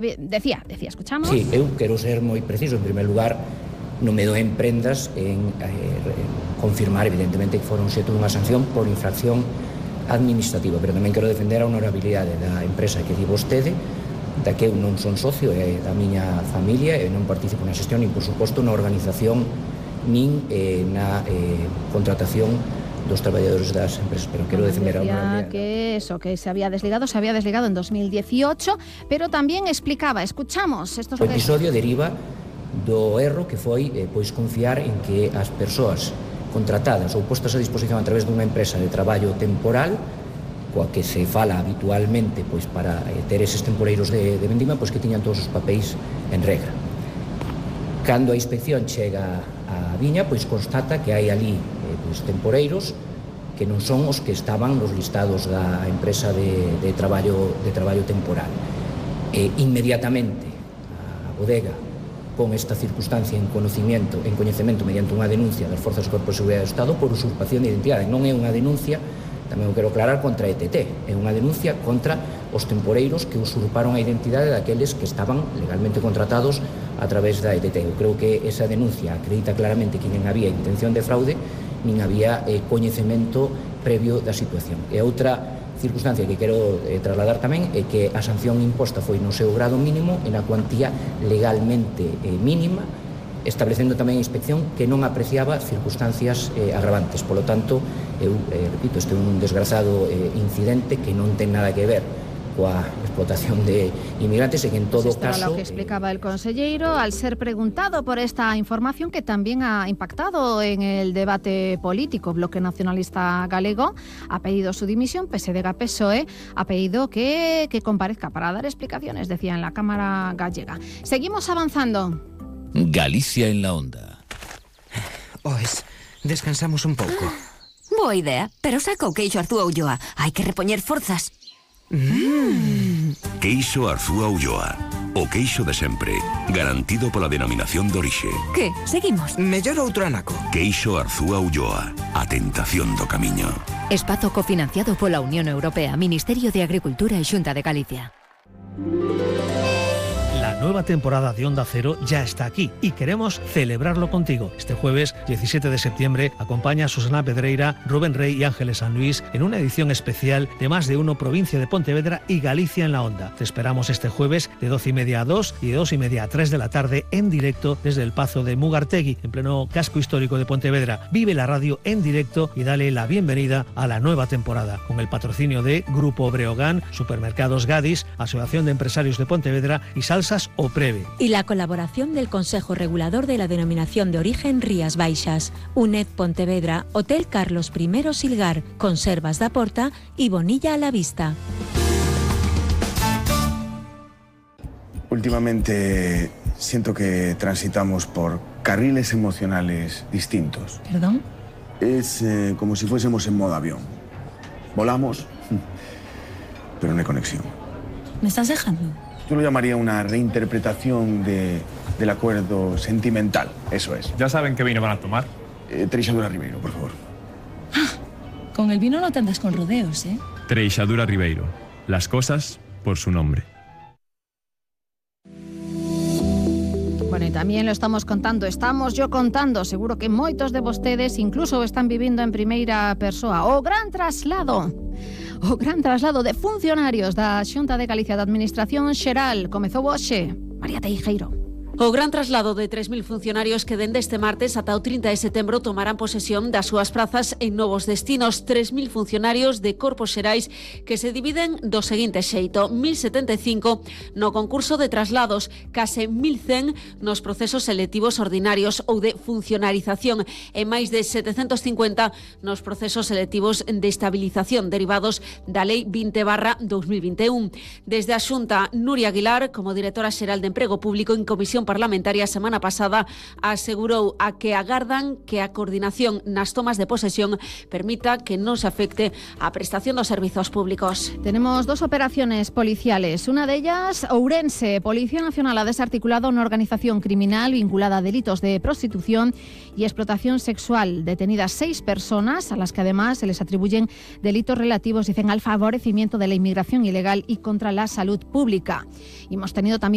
Decía, escuchamos. Sí, eu quero ser moi preciso. En primer lugar, non me doen prendas en confirmar, evidentemente, que foron xeito dunha sanción por infracción administrativa, pero tamén quero defender a honorabilidade da empresa que di vostede, da que eu non son socio, é da miña familia, e non participo na xestión, nin, por suposto, na organización, nin na contratación dos traballadores das empresas, pero quero defender a honorabilidade. Que se había desligado en 2018, pero tamén explicaba, escuchamos estos. O episodio deriva do erro que foi pois confiar en que as persoas contratadas ou postas a disposición a través dunha empresa de traballo temporal, coa que se fala habitualmente pois para ter eses temporeiros de vendima, pois que tiñan todos os papéis en regra. Cando a inspección chega á viña, pois constata que hai ali pois temporeiros que non son os que estaban nos listados da empresa de traballo temporal. Inmediatamente a bodega con esta circunstancia en coñecemento mediante unha denuncia das Forzas do Corpo de Seguridade do Estado por usurpación de identidade. Non é unha denuncia, tamén o quero aclarar, contra a ETT, é unha denuncia contra os temporeiros que usurparon a identidade daqueles que estaban legalmente contratados a través da ETT. Eu creo que esa denuncia acredita claramente que non había intención de fraude, nin había coñecemento previo da situación. E outra circunstancia que quero trasladar tamén é que a sanción imposta foi no seu grado mínimo e na cuantía legalmente mínima, establecendo tamén a inspección que non apreciaba circunstancias agravantes. Polo tanto, eu repito, este é un desgrazado incidente que non ten nada que ver coa explotación de inmigrantes e que en todo caso... Era lo que explicaba el conselleiro al ser preguntado por esta información que también ha impactado en el debate político. Bloque Nacionalista Galego ha pedido su dimisión, PSDG-PSOE ha pedido que comparezca para dar explicaciones, decía en la Cámara gallega. Seguimos avanzando. Galicia en la onda. Oes, descansamos un pouco. Boa idea, pero saca o queixo Arzúa Ulloa. Hai que repoñer forzas. Queixo Arzúa Ulloa. O queixo de sempre, garantido pola denominación de orixe. Que? Seguimos? Mellor outro anaco. Queixo Arzúa Ulloa. A tentación do camiño. Espazo cofinanciado pola Unión Europea, Ministerio de Agricultura e Xunta de Galicia. La nueva temporada de Onda Cero ya está aquí y queremos celebrarlo contigo. Este jueves 17 de septiembre acompaña a Susana Pedreira, Rubén Rey y Ángeles San Luis en una edición especial de Más de Uno, Provincia de Pontevedra y Galicia en la Onda. Te esperamos este jueves de 12:30 a 2 y de 2:30 a 3 de la tarde en directo desde el Pazo de Mugartegui, en pleno casco histórico de Pontevedra. Vive la radio en directo y dale la bienvenida a la nueva temporada, con el patrocinio de Grupo Breogán, Supermercados Gadis, Asociación de Empresarios de Pontevedra y Salsas o Preve. Y la colaboración del Consejo Regulador de la Denominación de Origen Rías Baixas, UNED Pontevedra, Hotel Carlos I Silgar, Conservas da Porta y Bonilla a la Vista. Últimamente siento que transitamos por carriles emocionales distintos. ¿Perdón? Es como si fuésemos en modo avión. Volamos, pero no hay conexión. ¿Me estás dejando? Yo lo llamaría una reinterpretación del acuerdo sentimental, eso es. ¿Ya saben qué vino van a tomar? Treixadura Ribeiro, por favor. Con el vino no te andas con rodeos, ¿eh? Treixadura Ribeiro. Las cosas por su nombre. Bueno, y también lo estamos contando, seguro que moitos de vostedes incluso están vivindo en primeira persoa o gran traslado de funcionarios da Xunta de Galicia da Administración Xeral. Comezou hoxe. María Teijeiro. O gran traslado de 3.000 funcionarios que dende este martes ata o 30 de setembro tomarán posesión das súas prazas en novos destinos. 3.000 funcionarios de corpos xerais que se dividen do seguinte xeito: 1.075 no concurso de traslados, case 1.100 nos procesos selectivos ordinarios ou de funcionarización e máis de 750 nos procesos selectivos de estabilización derivados da Lei 20/2021. Desde a Xunta, Nuria Aguilar, como directora xeral de Emprego Público en Comisión Parlamentaria, a semana pasada asegurou a que agardan que a coordinación nas tomas de posesión permita que non se afecte a prestación dos servizos públicos. Tenemos dos operaciones policiales. Una de ellas, Ourense. Policía Nacional ha desarticulado una organización criminal vinculada a delitos de prostitución y explotación sexual. Detenidas 6 personas, a las que además se les atribuyen delitos relativos, dicen, al favorecimiento de la inmigración ilegal y contra la salud pública. Y hemos tenido también